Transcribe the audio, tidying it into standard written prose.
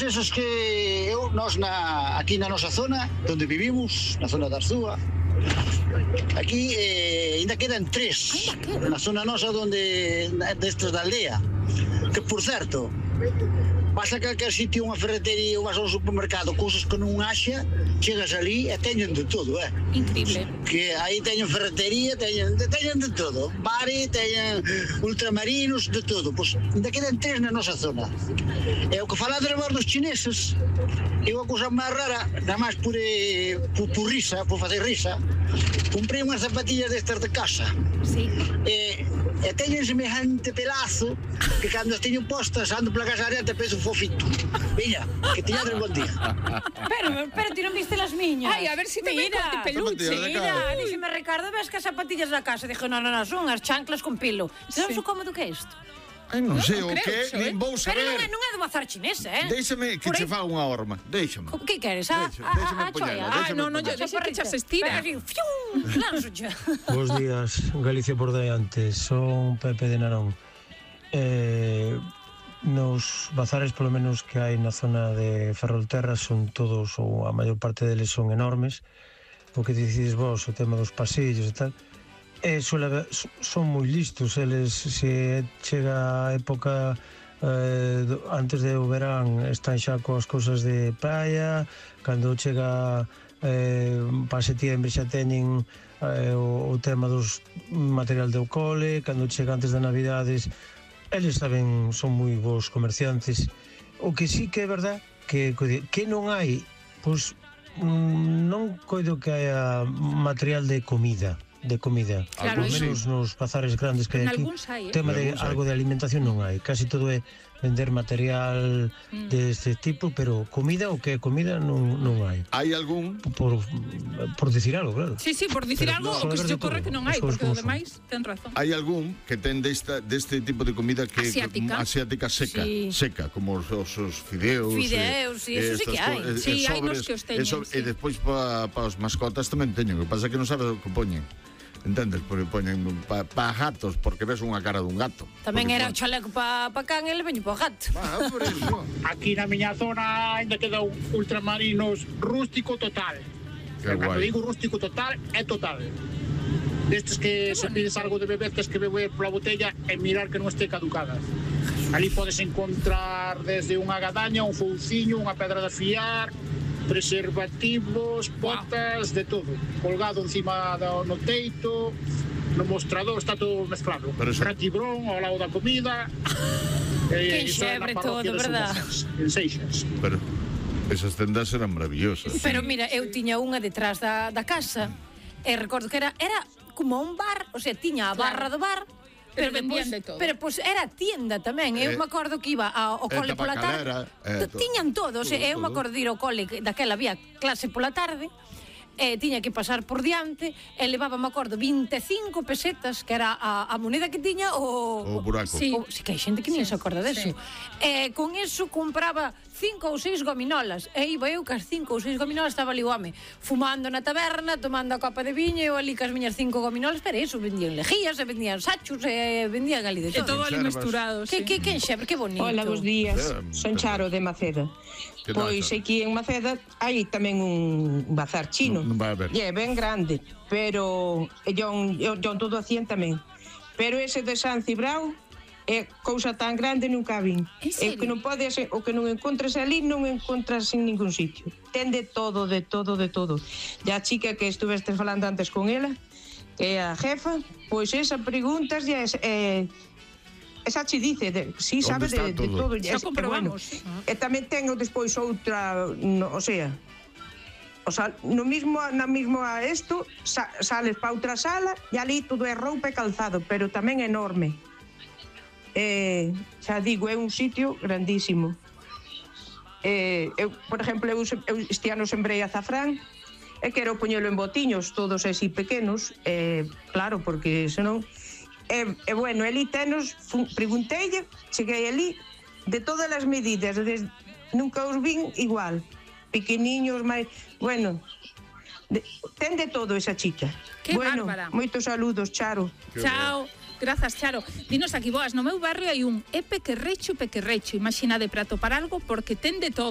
esos que nós aquí na nosa zona, onde vivimos, na zona da Arzúa, aquí ainda quedan 3 na zona nosa destes da aldea, que por certo, vas a calquer sitio, unha ferretería ou vas a un supermercado, cousas que non haxa, chegas ali e teñen de todo, Increíble. Que aí teñen ferretería, teñen de todo, bares, teñen ultramarinos, de todo. Pois ainda quedan 3 na nosa zona. E o que falades vos dos chineses, é unha cousa máis rara, nada máis por risa, por facer risa, comprei unhas zapatillas destas de casa. Sí. E teñen semejante pelazo que cando as teño postas ando pola casa adiante penso fofito. Viña, que teñades bon día. Pero ti non viste las miñas. Ai, a ver si tamén con de peluche. Mira, dixeme Ricardo, ves que as zapatillas da casa. Dixo, non, son as chanclas con pilo. Sabes o cómodo que é isto? Ai, non sei o que, nin vou Pero saber. non é do bazar chinesa, Déixame que che fa unha horma, déixame. Que queres? Déixame poñela, Ah, non, deixa que xa se estira. Lanzocha. Bos días, Galicia por diante. Son Pepe de Narón. Nos bazares, polo menos que hai na zona de Ferrolterra, son todos, ou a maior parte deles son enormes. O que decides vos, o tema dos pasillos e tal, son moi listos. Eles, se chega a época antes do verán, están xa coas cousas de praia. Cando chega para setembro xa teñen o tema dos material de cole. Cando chega antes de Navidades, eles saben, son moi bons comerciantes. O que sí que é verdad que non hai, pois non coido que haya material de comida. Claro, por menos nos bazares grandes que hai aquí, tema de algo de alimentación non hai, casi todo é vender material deste tipo, pero comida, o que é comida non hai. Hai algún? Por dicir algo, claro. Sí, por dicir algo, o que se ocorre que non hai, porque o demais ten razón. Hai algún que ten deste tipo de comida que asiática seca, como os fideos. Sí, eso sí que hai. Sí, hai nos que os teñen. E despois para os mascotas tamén teñen, o que pasa é que non sabes o que poñen. Entendes? Porque poñen para gatos, porque ves unha cara dun gato. Tamén era o chaleco para can, ele veño para o gato. Por eso. Aquí na miña zona ainda queda un ultramarinos rústico total. Cando digo rústico total, é total. Destes que se pides algo de beber, tes que beber pola botella e mirar que non este caducada. Ali podes encontrar desde unha gadaña, un fouciño, unha pedra de afiar, preservativos, botas, de todo. Colgado encima no teito, no mostrador, está todo mezclado. Ratibrón ao lado da comida. Que enxebre todo, verdad? En Seixas. Pero esas tendas eran maravillosas. Pero mira, eu tiña unha detrás da casa e recordo que era como un bar, o sea, tiña a barra do bar. Pero vendían de todo. Pero era tienda tamén. Eu me acordo que iba ao cole pola tarde. Tiñan todo. Eu me acordo de ir ao cole, daquela había clase pola tarde. Tiña que pasar por diante e levaba, me acordo, 25 pesetas, que era a moneda que tiña o buraco. Sí, que hai xente que nin se acorda deso. Con eso compraba 5 ou 6 gominolas e iba eu cas 5 ou 6 gominolas, estaba ali o home fumando na taberna, tomando a copa de viño, eu ali cas miñas 5 gominolas, pero eso, vendían lejías, e vendían sachos, e vendían ali de todo. E todo ali mesturado, sí. Que enxebre, que bonito. Hola, bos días, son Charo de Maceda. Pois aquí en Maceda hai tamén un bazar chino. Non vai haber. É ben grande, pero yo todo hacían tamén. Pero ese de San Cibrao é cousa tan grande nunca vin. É que non pode ser, o que non encontras ali non encontras en ningún sitio. Ten de todo. E a chica que estuveste falando antes con ela, que é a jefa, pois esa preguntas esa che dice, sí, sabe de todo. Xa comprobamos. E tamén tengo despois outra, o sea, no mismo a isto, sales para outra sala e ali todo é roupa e calzado, pero tamén enorme. Xa digo, é un sitio grandísimo. Eu, por exemplo, este ano sembrei azafrán e quero poñelo en botiños todos así pequenos, claro, porque senón bueno, ali tenos, pregunteille, cheguei ali de todas as medidas, nunca os vin igual, pequeniños, máis, bueno, Ten de todo esa chica. Que bárbara. Moitos saludos, Charo. Chao. Grazas, Charo. Dinos aquí, boas, no meu barrio hai un pequerrecho, imagina de prato para algo, porque ten de todo.